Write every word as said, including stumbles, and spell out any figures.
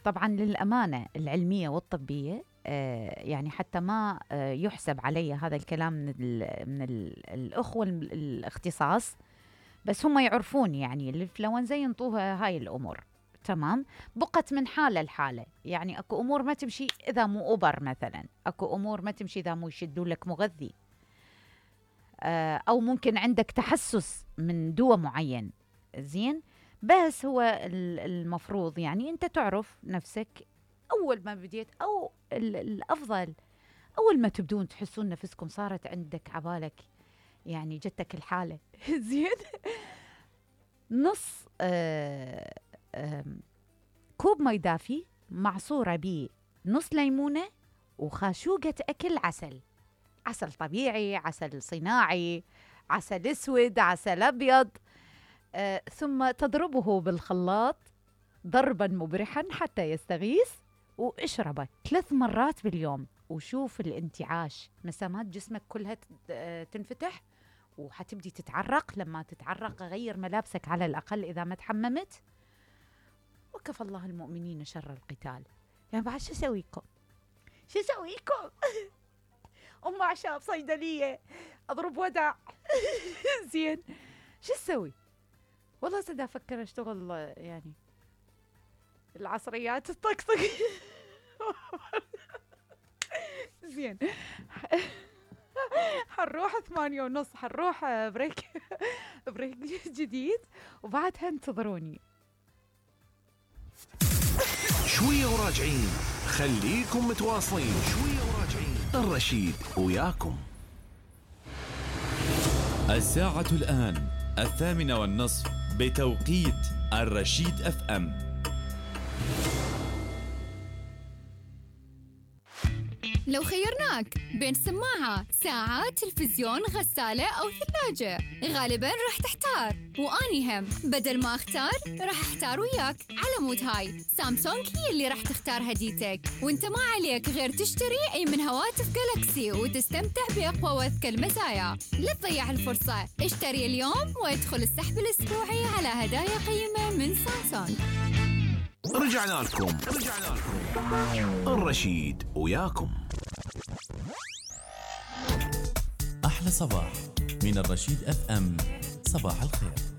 طبعا للأمانة العلمية والطبية آه يعني حتى ما آه يحسب علي هذا الكلام من ال من ال الأخوة الاختصاص، بس هم يعرفون يعني الإنفلونزا ينطوها هاي الأمور. تمام. بقت من حالة لحالة، يعني أكو أمور ما تمشي إذا مو أوبر مثلا، أكو أمور ما تمشي إذا مو يشدوا لك مغذي، آه أو ممكن عندك تحسس من دواء معين. زين. بس هو المفروض يعني أنت تعرف نفسك أول ما بديت، أو الأفضل أول ما تبدون تحسون نفسكم صارت عندك عبالك يعني جتك الحالة زين، نص آه آه كوب مي دافي معصورة بيه نص ليمونة وخاشوقة أكل عسل، عسل طبيعي، عسل صناعي، عسل أسود، عسل أبيض، آه ثم تضربه بالخلاط ضربا مبرحا حتى يستغيث، واشربه ثلاث مرات باليوم، وشوف الانتعاش، مسامات جسمك كلها تنفتح، وحتبدي تتعرق. لما تتعرق غير ملابسك على الأقل إذا ما تحممت، وكفى الله المؤمنين شر القتال. يعني بعد شو أسويكم؟ شو أسويكم؟ أم عشاء بصيدلية أضرب ودع زين شو أسوي؟ والله صدق أفكر أشتغل يعني العصريات الطقطق زين. حنروح ثمانية ونص، حنروح بريك بريك جديد، وبعدها انتظروني شوية وراجعين. خليكم متواصلين، شوية وراجعين. الرشيد وياكم. الساعة الآن الثامنة والنصف بتوقيت الرشيد اف ام. لو خيرناك بين سماعة، ساعة، تلفزيون، غسالة أو ثلاجة، غالباً راح تحتار، وأني هم بدل ما أختار راح أختار وياك. على مود هاي سامسونج هي اللي راح تختار هديتك، وانت ما عليك غير تشتري أي من هواتف جالاكسي وتستمتع بأقوى وأذكى المزايا. لا تضيع الفرصة، اشتري اليوم وادخل السحب الأسبوعي على هدايا قيمة من سامسونج. رجعنا لكم رجعنا لكم الرشيد وياكم. أحلى صباح من الرشيد اف ام. صباح الخير.